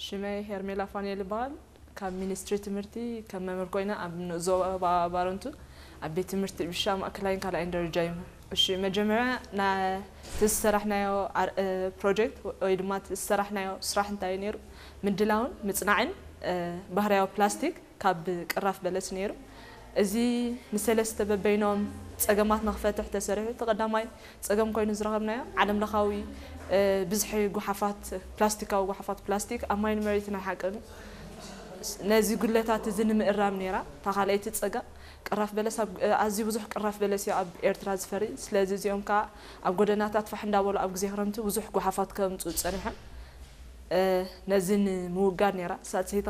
ሽመይ ሄርሜላ ፋንኤል ይበሃል። ካብ ሚኒስትሪ ትምህርቲ ከም መምህር ኮይነ ኣብ ንኡስ ዞባ ባረንቱ ኣብ ቤት ትምህርቲ ብሻ ማእከላይን ካልኣይን ደረጃ ይምህር። እሺ፣ መጀመርያ ናቲ ዝሰራሕናዮ ኣር- እ፣ ፕሮጀክት ወይ ድማ እቲ ዝሰራሕናዮ ስራሕ እንታይ እዩ ነይሩ? ምድላውን ምጽናዕን እ፣ ባህርያዊ ፕላስቲክ ካብ ቅራፍ በለስ ነይሩ። እዚ ንሰለስተ በበይኖም ጸገማት ንኽፈትሕ ተሰሪሑ። እቲ ቀዳማይ ጸገም ኮይኑ ዝረኸብናዮ ዓለም ለኻዊ እ፣ ብዝሒ ጓሓፋት ፕላስቲካዊ ጓሓፋት ፕላስቲክ ኣብ ማይን መሬትን ኣይሓቅን። ነዚ ጉድለታት እዚ ንምእራም ነይራ እታ ካልኣይቲ ጸገም። ቅራፍ በለስ ኣብ- ኣዝዩ ብዙሕ ቅራፍ በለስ እዩ ኣብ ኤርትራ ዝፈሪ። ስለዚ እዚኦም ከዓ ኣብ ጎደናታት ፋሕ እንዳበሉ ኣብ ግዜ ክረምቲ ብዙሕ ጓሓፋት ከምፅኡ ፀኒሖም። ነዚ ንምውጋድ ነይራ ሳልሰይቲ